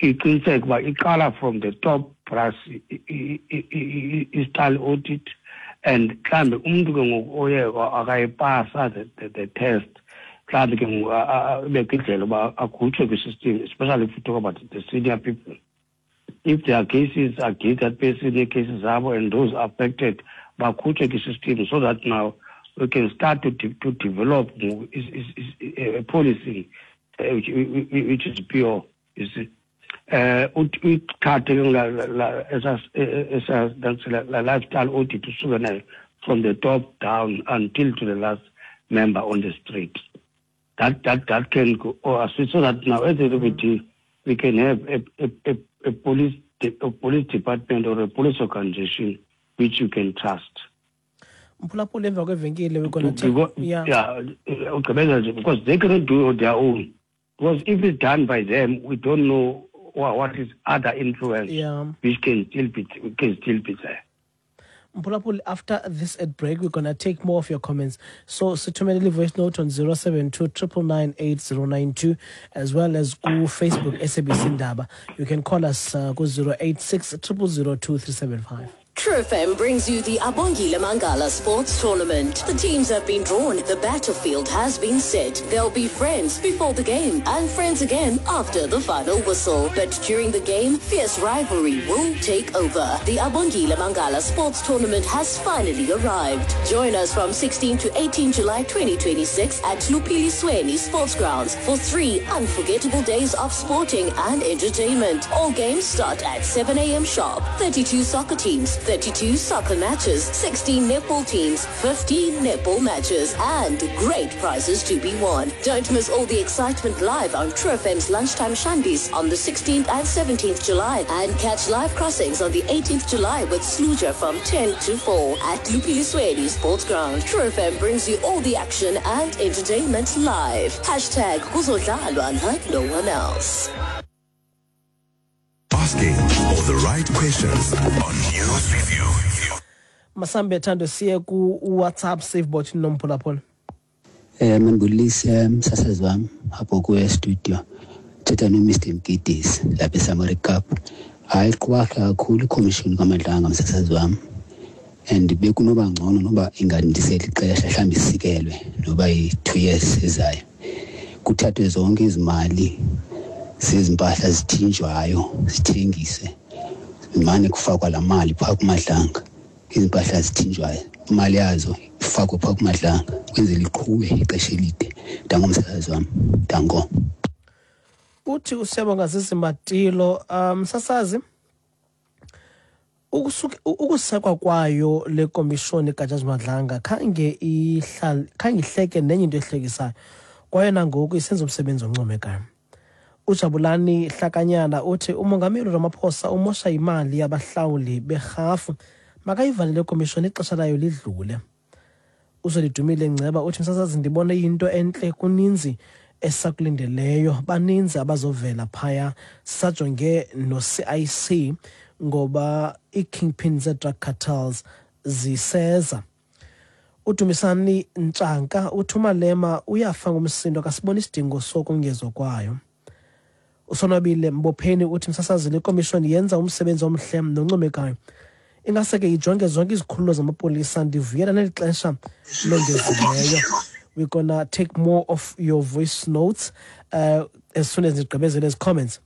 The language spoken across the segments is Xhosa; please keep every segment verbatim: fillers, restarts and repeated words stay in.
Iqiniseke uba iqala from the top brass, i-style audit, and mhlawumbi umntu ke ngoku oye akayipasa the, the, the test, mhlawumbi ke ngoku ibekho indlela uba akhutshwe kwi-system, especially if you talk about the senior people. If there are cases against that person, ii-cases zabo and those affected bakhutshwe kwi-system, so that now we can start to, de to develop is, is, is a policy uh, which, which is pure, you see. uh Uyithathe ke la lifestyle audit, usuke nayo from the top down until to the last member on the street. That that that can go or so that now at the end of the day we can have a, a, a, a police a police department or a police organization which you can trust. Mphulaphula, emva kwevenkile we're gonna take Because, yeah yeah, ugqibeza nje, because they cannot do it on their own, because if it's done by them, we don't know what, what is other influence yeah which can still be can still be there. Mphulaphuli, after this ad break we're gonna take more of your comments, so sithumelele voice note on zero seven two nine nine nine eight zero nine two, as well as ku-Facebook S A B C Indaba. You can call us uh, ku-zero eight six zero zero zero two three seven five. True F M brings you the Abongile Mangala Sports Tournament. The teams have been drawn, the battlefield has been set. They'll be friends before the game and friends again after the final whistle. But during the game, fierce rivalry will take over. The Abongile Mangala Sports Tournament has finally arrived. Join us from sixteen to eighteen July twenty twenty-six at Luphillisweni Sports Grounds for three unforgettable days of sporting and entertainment. All games start at seven a m sharp. thirty-two soccer teams, thirty-two soccer matches, sixteen netball teams, fifteen netball matches, and great prizes to be won. Don't miss all the excitement live on True F M's Lunchtime Shandies on the sixteenth and seventeenth July, and catch live crossings on the eighteenth July with Sluja from ten to four at Luphillisweni Sports Ground. True F M brings you all the action and entertainment live. Hashtag Kuzodlalwa like no one else. Asking all the right questions on News Review. Masambe, Thando, siye ku-WhatsApp savebot nomphulaphula. Eh mandibulise msasazi wami apho kuye studio. Thetha no Mister Mgidisi lapha eSamari Cup. Hayi, qhubeka kakhulu ikhomishini kaMadlanga, msasazi wami. And bekunoba ngcono noba ingandiseli ixesha, mhlawumbi isikelwe noba yi-two years ezayo. Kuthathwe zonke izimali zezimpahla zithinjwayo zithengiswe. Mane kufakwa la mali phaa kuMadlanga. Izimpahla zithinjwayo, imali yazo ifakwe phaa kuMadlanga kwenzela iqhube ixesha elide. Danko, msasazi wami, danko. Uthi uSiyabonga Zizimatilo, um msasazi, ukusuke ukusekwa kwayo le komishoni kaJaji Madlanga khange ihlal khange ihleke nenye into ehlekisayo, kwaye nangoku isenza umsebenzi oncomekayo. UJabulani Hlakanyana uthi umongameli Ramaphosa umosha imali yabahlawuli berhafu, makayivale le komishoni, ixesha layo lidlule. UZolidumile Ngceba uthi, msasazi, ndibone into entle, kuninzi esakulindeleyo, baninzi abazovela phaya, sisajonge no-C I C ngoba ii-kingpin zee-drug cartels ziseza. UDumisani Ntshanka uthi uMalema uyafa ngumsindo, akasiboni isidingo sokongezwa kwayo. USonwabile Mbopheni uthi, msasazi, le komishoni yenza umsebenzi omhle noncomekayo, ingase ke ijonge zonke izikhululo zamapolisa. Ndivuyela neli xesha longezileyo. We're gonna take more of your voice notes uh, as soon as ndigqibezele ezi comments.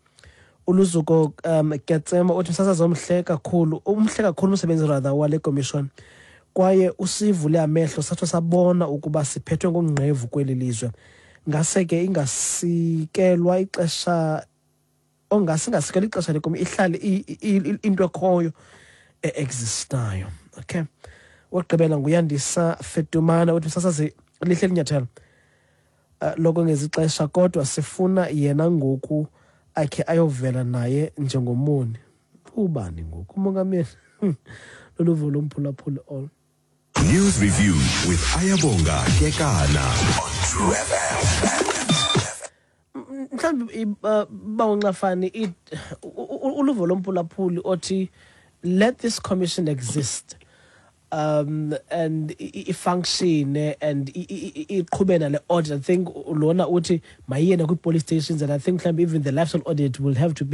ULuzuko um Ketsema uthi, msasazi, omhle kakhulu, umhle kakhulu umsebenzi rather wale commission, kwaye usivule amehlo satsho sabona ukuba siphethwe ngongqevu kweli lizwe. Ngase ke ingasikelwa ixesha, ongase ingasikelwa ixesha lekomi, ihlale into ekhoyo e-existayo. Okay, wokugqibela nguYandisa Fetumana uthi, msasazi, lihle linyathelo uh, lokongeza ixesha, kodwa sifuna yena ngoku akhe ayovela naye njengomoni. Ubani ngoku umongameli? Loluvo lomphulaphuli all. News Review with Ayabonga Kekana on True F M. Mhlawumbi, bawuncafani, uluvo lomphulaphuli othi let this commission exist um and i-function and iqhube nale audit. I think lona uthi mayiyena kwi-police stations, and I think mhlawumbi even the lifestyle audit will have to be